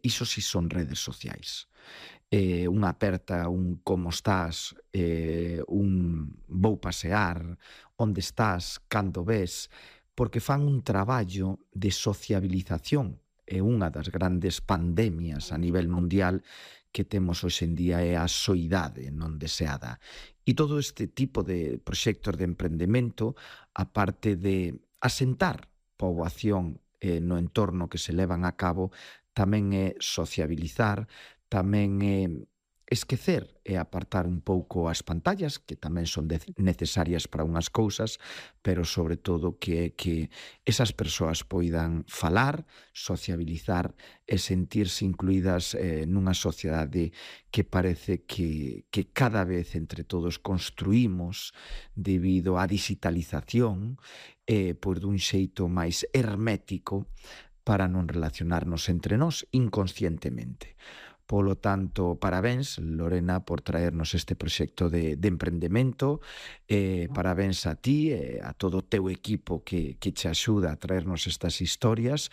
iso si son redes sociais. Unha aperta, un como estás, un vou pasear, onde estás, cando ves, porque fan un traballo de sociabilización. É unha das grandes pandemias a nivel mundial que temos hoxe en día é a soidade non deseada. E todo este tipo de proxectos de emprendemento, aparte de asentar poboación no entorno que se levan a cabo, tamén é sociabilizar, tamén é esquecer e apartar un pouco as pantallas, que tamén son necesarias para unhas cousas, pero sobre todo que esas persoas poidan falar, sociabilizar e sentirse incluídas nunha sociedade que parece que cada vez entre todos construímos debido á digitalización por dun xeito máis hermético para non relacionarnos entre nós inconscientemente. Polo tanto, parabéns, Lorena, por traernos este proxecto de emprendemento, parabéns a ti e a todo o teu equipo que che axuda a traernos estas historias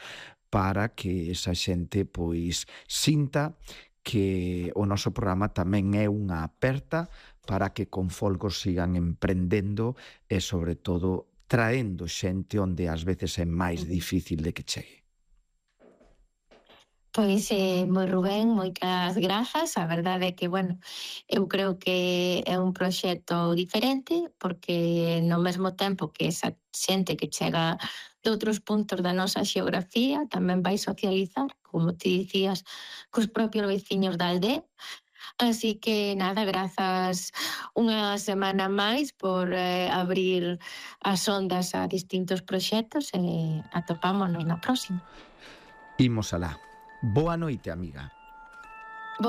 para que esa xente pois sinta que o noso programa tamén é unha aperta para que con folgos sigan emprendendo e, sobre todo, traendo xente onde ás veces é máis difícil de que chegue. Pois, moi Rubén, moitas grazas. A verdade é que, bueno, eu creo que é un proxecto diferente porque no mesmo tempo que esa xente que chega de outros puntos da nosa xeografía tamén vai socializar, como ti dicías, cos propios veciños da aldea. Así que nada, grazas unha semana máis por abrir as ondas a distintos proxectos e atopámonos na próxima. Imos alá. Boa noite, amiga.